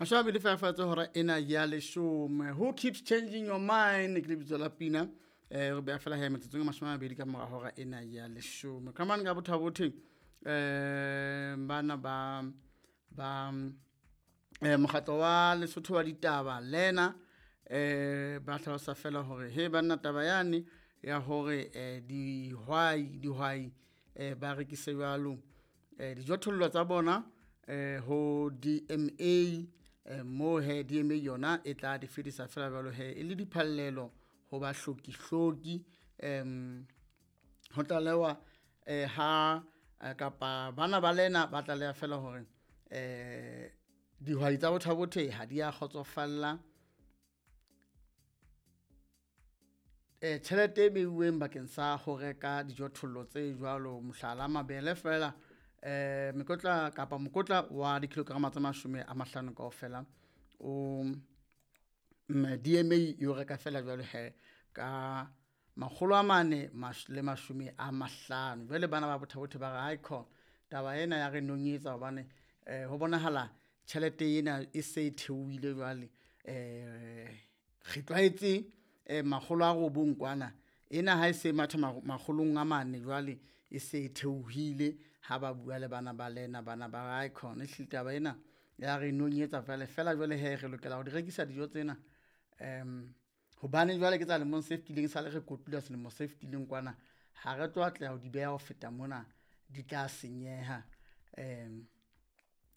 Mashome a mabedi fela fela tse hora ena ya leshome. Who keeps changing your mind ke lebitso la pina. Re beha fela he metsotsong e 20 ka mora hora ena ya leshome. Ka mane ka Botha-Bothe bana ba ba mokgatlo wa Lesotho wa ditaba lena ba hlalosa fela hore he banna taba yane ya hore dihwai ba rekise jwalo dijothollo tsa bona ho DMA, mo he DMA yona e tla di fetisa fela jwalo he e le diphallelo ho bahloki-hloki. Ho tlalewa ha kapa bana ba lena ba tlaleha fela hore dihwai tsa Botha-Bothe ha di a kgotsofalla tjhelete e beuweng bakeng sa ho reka dijothollo tse jwalo. Mohlala, mabele fela mekotla kapa mokotla wa dikilograma tse 50 kaofela o DMA e o reka fela jwalo he ka 450. Jwale bana ba Botha-Bothe ba re aikhona taba ena ya re nonyetsa hobane ho bonahala tjhelete ena e se e theohile jwale. Re tlwaetse 900 kwana, ena ha e se matha 400 jwale e se e theohile. Ha ba bua le bana ba lena bana ba re aikhona ehlile taba ena ya re nonyetsa jwale fela jwale he re lokela ho di rekisa dijo tsena hobane jwale ke tsa lemong se fetileng esale re kotula selemo se fetileng kwana. Ha re tlo atleha ho di beha ho feta mona, di tla senyeha.